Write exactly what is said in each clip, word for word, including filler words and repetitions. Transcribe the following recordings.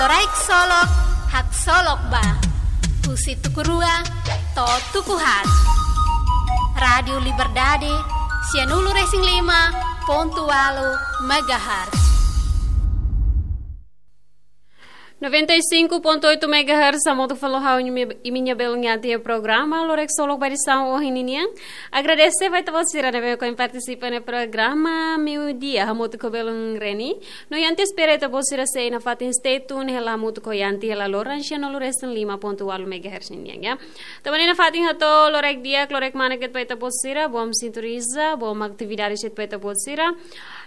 Loraik Solok, haksolok ba. Husi tuku rua to'o tuku haat. Rádiu Liberdade, sianulu-resin-lima pontu ualu megahertz. Noventa e cinco ponto oito megahertz, hamutuk ho ha'u-nia, imi-nia belun iha programa Loraik Solok ba edisaun ohin ninian. Agradese ba ita-boot sira ne'ebé mak partisipa iha programa meiudia, hamutuk ho belun Reni. No ita espera ita-boot sira sei nafatin stay tune hela hamutuk ho ita hela loron sianulu-resin-lima pontu ualu megahertz ninian, ya. Tanba ne'e nafatin hato'o loraik di'ak, loraik manek de'it ba ita-boot sira, bom sintoniza, bom atividade de'it ba ita-boot sira.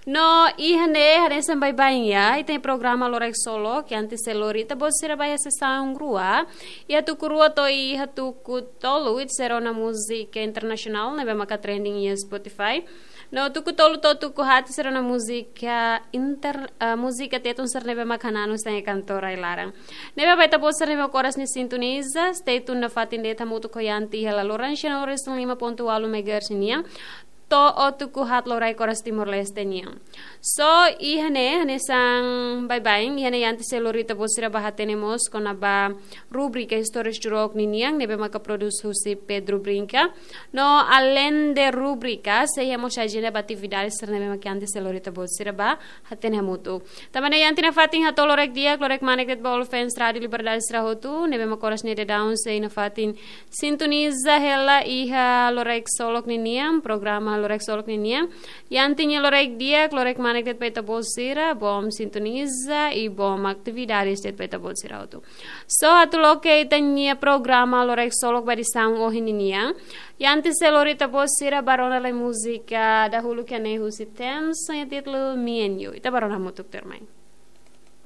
No iha ne'e, hanesan baibain, ya, ita-nia programa Loraik Solok, ita sei lori ita-boot sira ba iha sesaun rua, iha tuku rua to'o iha tuku tolu, ita sei rona múzika internasionál ne'ebé maka trending iha Spotify. No tuku tolu to'o tuku haat ita sei rona múzika inter, eh, múzika Tetun sira ne'ebé maka hananu iha kantor rai-laran. Ne'ebé ba ita-boot sira ne'ebé mak oras ne'e sintoniza, stay tune nafatin de'it hamutuk ho ita hela loron sianulu-resin-lima pontu ualu megahertz nian, to'o tuku haat loraik oras Timor-Leste nian. So, iha ne'e, hanesan baibain, iha ne'e ita sei lori ita-boot sira ba hatene mós kona-ba rubrika Istórias Jurok ninian, ne'ebé maka produs husi Pedro Brinca. No, alende rubrika, sei iha mós ajenda ba atividade sira ne'ebé maka ita sei lori ita-boot sira ba hatene hamutuk. Tanba ne'e ita nafatin hato'o loraik di'ak, loraik manek de'it ba all fans Rádiu Liberdade sira hotu, ne'ebé mak oras ne'e daudaun sei nafatin sintoniza hela iha Loraik Solok ninian, programa Loraik Solok ninian. Ita-nia loraik di'ak, loraik manek de'it ba ita-boot sira, bom sintoniza i bom atividade de'it ba ita-boot sira hotu. So, atu loke ita-nia programa Loraik Solok ba edisaun ohin ninian, ita sei lori ita-boot sira ba rona lai múzika dahuluk iha ne'e husi Tems, ho títulu Me and You. Ita ba rona hamutuk tuirmai.